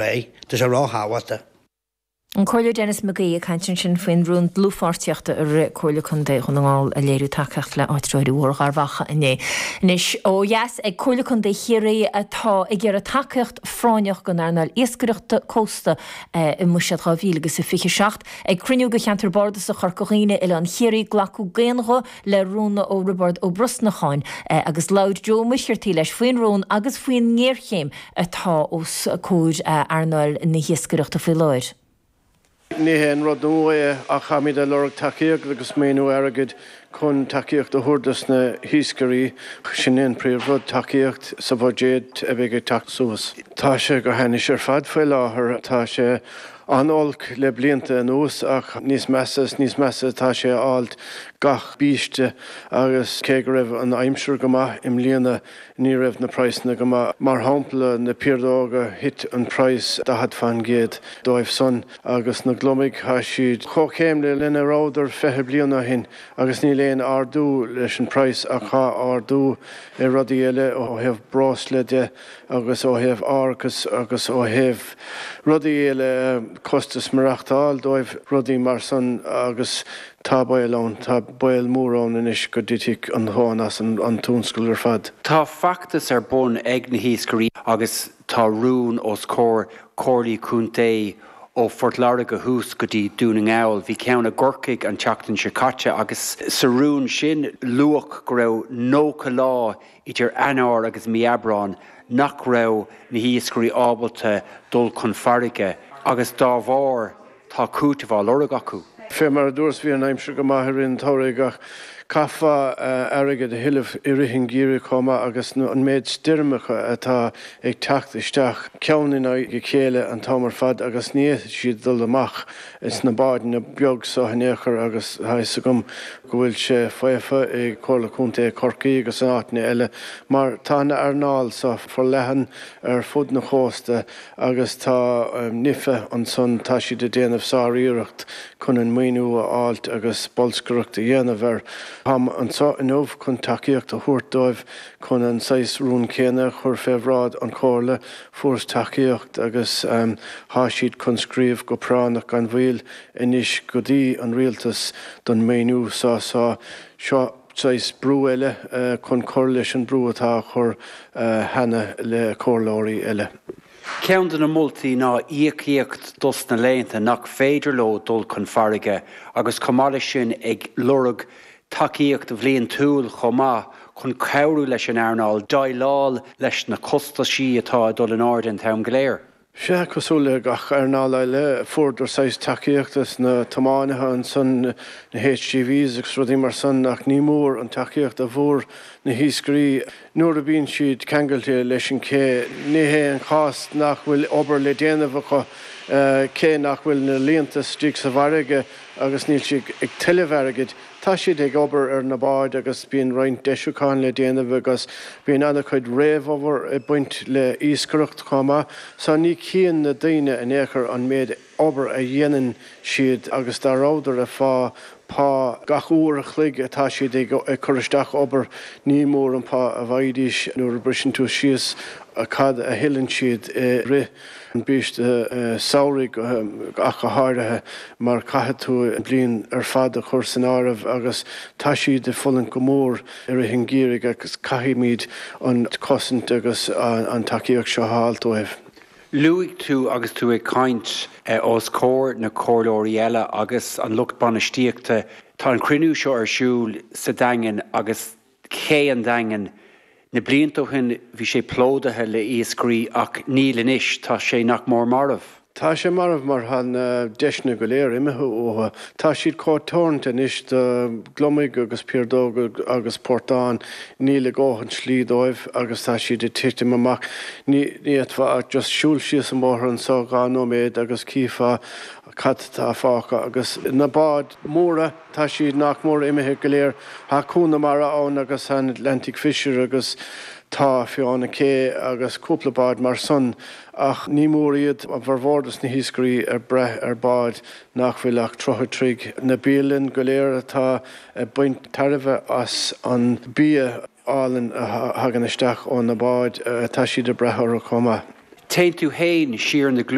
Aghaidh. Tá sé ró-thábhachtach. An Comhairleoir Denis McGee ag caint ansin faoin rún dlúthpháirtíochta a rith Comhairle Contae Dhún na nGall ag léiriú tacaíocht le áitritheoirí Bhóthar Gharbh Achaidh inné. Anois ó dheas ag Comhairle Contae Chiarraí atá ag iarraidh tacaíocht phráinneach don earnáil iascaireachta cósta i mBuiséad 2027. Ag cruinniú de Cheantar Bardasach Chorca Dhuibhne, Oileán Chiarraí, glacadh d'aon ghuth le rún ó Roibeárd Ó Brosnacháin agus labhair Joe Ó Muircheartaigh leis faoin rún agus faoin ngéarchéim atá os comhair earnáil na hiascaireachta faoi láthair. Ní haon rud nua é ach táimid ag lorg tacaíocht agus maoiniú airgid chun tacaíocht a thabhairt dos na hiascairí. Sin é an príomh-rud, tacaíocht sa bhuiséad a bheidh ag teacht suas. Tá sé go hainnis ar fad faoi láthair. Tá sé an-olc le blianta anuas ach níos measa is níos measa atá sé a fháilt gach biaiste agus cé go raibh an aimsir go maith i mbliana ní raibh na praghsanna go maith. Mar shampla na piardóga thit an praghas 40% dóibh san agus na gliomaigh tá siad chomh céanna lena rabhadar 20 bliain ó shin agus níl aon ardú leis an praghas ach tá ardú i rudaí eile ó thaobh breosla de agus ó thaobh árachas agus ó thaobh rudaí eile, costas maireachtáil dóibh, rudaí mar san agus tá baol ann, tá baol mór ann anois go dtitfidh an tóin as an tionscal ar fad. Tá feachtas ar bun ag na hiascairí agus tá rún os comhair comhairlí contae ó Phort Láirge thuas go dtí Dún na nGall. Bhí ceann i gCorcaigh an tseachtain seo caite agus sa rún sin luadh go raibh 90 lá idir Eanáir agus mí Aibreáin nach raibh na hiascairí ábalta dul chun farraige agus dá bharr tá cúiteamh á lorg acu. Fé mar a dúras bhí an aimsir go maith i rith an tsamhraidh ach caithfeá airgead a thuilleamh i rith an gheimhridh chomh maith agus an méid stoirmeacha atá ag teacht isteach ceann in aghaidh a chéile an t-am ar fad agus ní fhéadfaidh siad dul amach sna bádanna beag so in aon chor agus tá fhios agam go bhfuil sé faofa i Comhairle Contae Chorcaí agus in áiteanna eile mar tá an earnáil so forleathan ar fud na chósta agus tá NIFA ansan, tá siad ag déanamh sár-iarracht chun an maoiniú a fháilt agus bolscaireacht a dhéanamh air. Táim anso inniu chun tacaíocht a thabhairt dóibh chun an saghas rún céanna a chur fé bhráid an Chomhairle. Fuaireas tacaíocht agus thá siad chun scríobh go práinneach gan mhoill anois go dtí an rialtas don maoiniú so so seo saghas brú eile chun cur leis an brú atá á chur cheana le comhairleoirí eile. Ceann de na moltaí ná íocaíocht dos na laethanta nach féidir leo dul chun farraige agus chomh maith leis sin ag lorg tacaíocht bhliantúil chomh maith chun cabhrú leis an earnáil déileáil leis na costaisí atá ag dul in airde an t-am go léir. Sea, cosúil le gach earnáil eile, fuaireadar saghas tacaíochta sna tiománaithe ansan, na HGVs agus rudaí mar san, ach ní mór an tacaíocht a bhfuair na hiascairí nuair a bhíonn siad ceangailte leis an ché. Ní hé an chás nach bhfuil obair le déanamh acu, cé nach bhfuil na líonta istigh sa bhfarraige agus níl siad ag tuilleamh airgid. Tá siad ag obair ar na báid agus bíonn roinnt deisiúcháin le déanamh agus bíonn an-chuid réamhobair ag baint le iascaireacht chomh maith. So ní chíonn na daoine in aon chor an méid obair a dhéanann siad agus dá rabhadar ag fá pá gach uair a chloig atá siad ag cur isteach obair ní mór an pá a bhfaighidís nuair a briseann tú síos cad a thuilleann siad i rith an biaiste samhraidh ach go háirithe mar caithfidh tú an bhliain ar fad a chur san áireamh agus tá siad ag fulaingt go mór i rith an gheimhridh agus caithfimid an chosaint agus an tacaíocht seo a fháilt dóibh. Luaigh tú agus tú ag caint os comhair na comhairleoirí eile agus an lucht bainistíochta, tá an cruinniú seo ar siúl sa Daingean agus Cé an Daingin. Na blianta ó shin bhí sé plódaithe le iascairí ach níl anois, tá sé nach mór marbh. Tá sé marbh mar tá na deiseanna go léir imithe uathu. Tá siad chomh teoranta anois do gliomaigh agus piardóga agus portáin, níl a dhóthain slí dóibh agus tá siad ag titim amach. Ní fhéadfá ach just siúl síos an bóthar anso dhá nóiméad agus chífeá cad tá fágtha agus na báid mhóra. Tá siad nach mór imithe go léir. Tá Cuan na Mara ann agus an Atlantic Fisher agus tá Fiona K agus cúpla bád mar san ach ní mór iad, a bhformhór dos na hiascairí ag brath ar báid nach bhfuil ach 30 troigh. Na bialann go léir atá ag baint tairbhe as an bia álainn a thagann isteach ó na báid, tá siad ag brath orthu chomh maith. Téann tú fhéin siar na.